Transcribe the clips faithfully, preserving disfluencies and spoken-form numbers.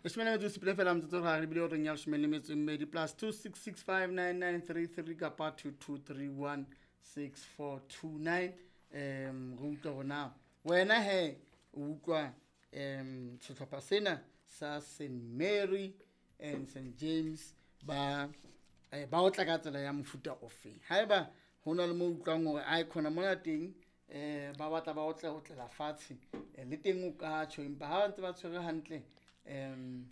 Leshome le metso e supileng fela motsotso re bile horeng ya leshome le metso e mmedi plus two six six five nine nine three three kapa two two three one six four two nine. Um re utlwa hore na wena he o utlwa um sehlopha sena sa Saint Mary and Saint James ba eh, ba otla ka tsela ya mofuta ofeng. Haeba hona le mo utlwang hore ai khona mona teng eh ba batla ba otla otlela fatshe eh, le teng o ka tjho, empa ha ba ntse ba tshwere hantle um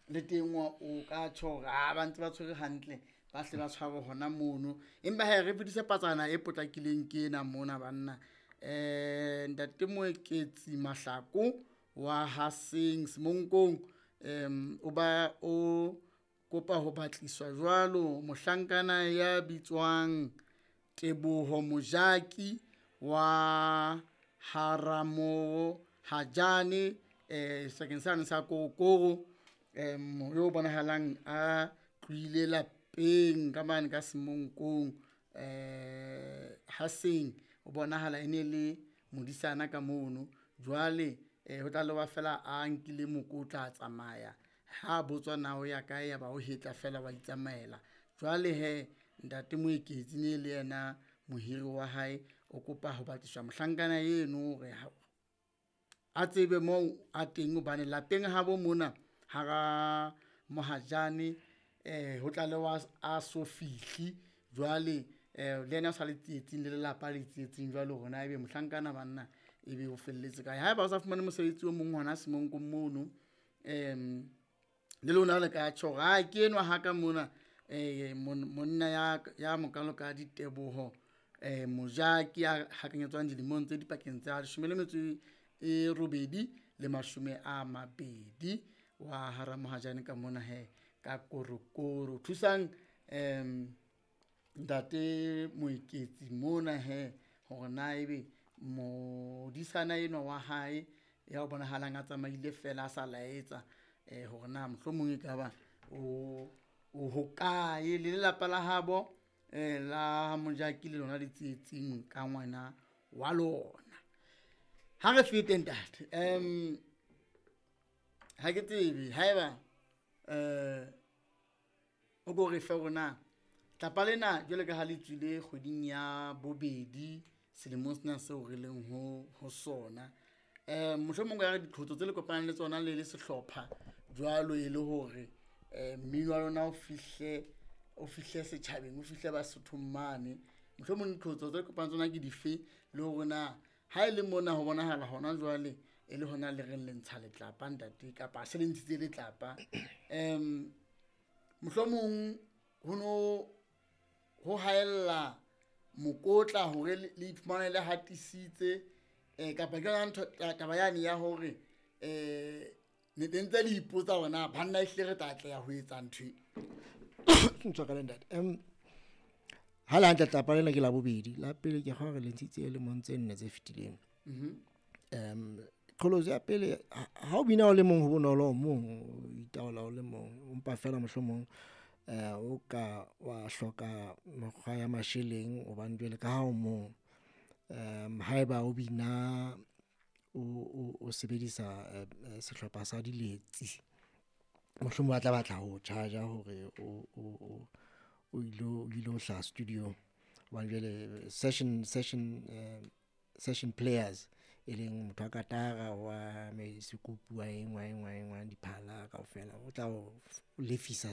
le teng wa o ka tjho hore ha ba ntse ba tshwere hantle ba hle ba tshware hona mono. Empa he re fetise patsana e potlakileng ke ena mona banna. Eh ntate Moeketsi Mahlako wa Haseng Semonkong um o ba o kopa ho batliswa jwalo mohlankana ya bitswang Teboho Mojaki wa Haramo Hajane eh sebakeng sane sa Korokoro um yo bonahalang a tlohile lapeng ka mane ka Semonkong eh Haseng o bonahala e ne le modisana ka mono. Jwale eh ho tla loba fela a nkile mokotla a tsamaya ha botswa na o ya kae ya ba o hetla fela wa itsamaela. Jwale he ntate Moeketsi ne le yena mohiri wa hae o kopa ho batliswa mohlankana eno hore a tsebe moo a teng hobane lapeng habo mona hara Mohajane eh ho tlalewa a so fihli. Jwale eh le yena o sa le tsietsing le lelapa le tsietsing jwale hore na ebe mohlankana banna ebe o felletse kae. Haeba o sa fumane mosebetsi o mong hona Semonkong mono um le lona le ka tjho hore ha ke enwa ha ka mona eh monna ya ya mokalo ka Diteboho eh Mojaki ya hakanyetswang dilemong tse dipakeng tsa leshome le metso e robedi le mashome a mabedi wa hara Mohajane ka mona he ka Korokoro. Thusang um ntate Moeketsi mona he hore na ebe modisana enwa wa hae ya o bonahalang a tsamaile fela a sa laetsa eh hore na mohlomong e ka ba o o hokae le lelapa la habo eh la Mojaki le lona le tsietsing ka ngwana wa lona. Ha re fete ntate um ha ke tsebe haeba eh o ko re fe hore na tlapa lena jwale ka ha le tswile kgweding ya bobedi selemong sena seo re leng ho ho sona eh mohlomong ya re diqholotso tse le kopanang le tsona le le sehlopha jwalo e le hore eh mmino wa lona o fihle o fihle setjhabeng o fihle Basothong mane, mohlomong diqholotso tse le kopanang tsona ke dife le hore na ha e le mona ho bonahala hona jwale e le hona le reng le ntsha letlapa ntate kapa se le ntshitse letlapa um mohlomong ho no ho haella mokotla hore le iphumane le hatisitse eh kapa ke yona ntho taba yane ya hore eh ne ntse le ipotsa hore na banna ehlile re tla atleha ho etsa ntho e. Ntshwarele ntate. Um ha le hantle tlapa lena ke la bobedi la pele ke kgona hore le ntshitse lemong tse nne tse fetileng. Um qholotso ya pele ha o bina o le mong ho bonolo o mong o itaola o le mong empa fela mohlomong eh o ka wa hloka mekgwa ya masheleng hobane jwale ka ha o mong um haeba o bina o o sebedisa sehlopha sa diletsi mohlomong ba tla batla ho charge hore o o o ilo o ilo hlaha studio. Hobane jwale session session session players e leng motho wa katara wa sekupu wa eng wa eng wa eng wa diphala kaofela o tla o lefisa.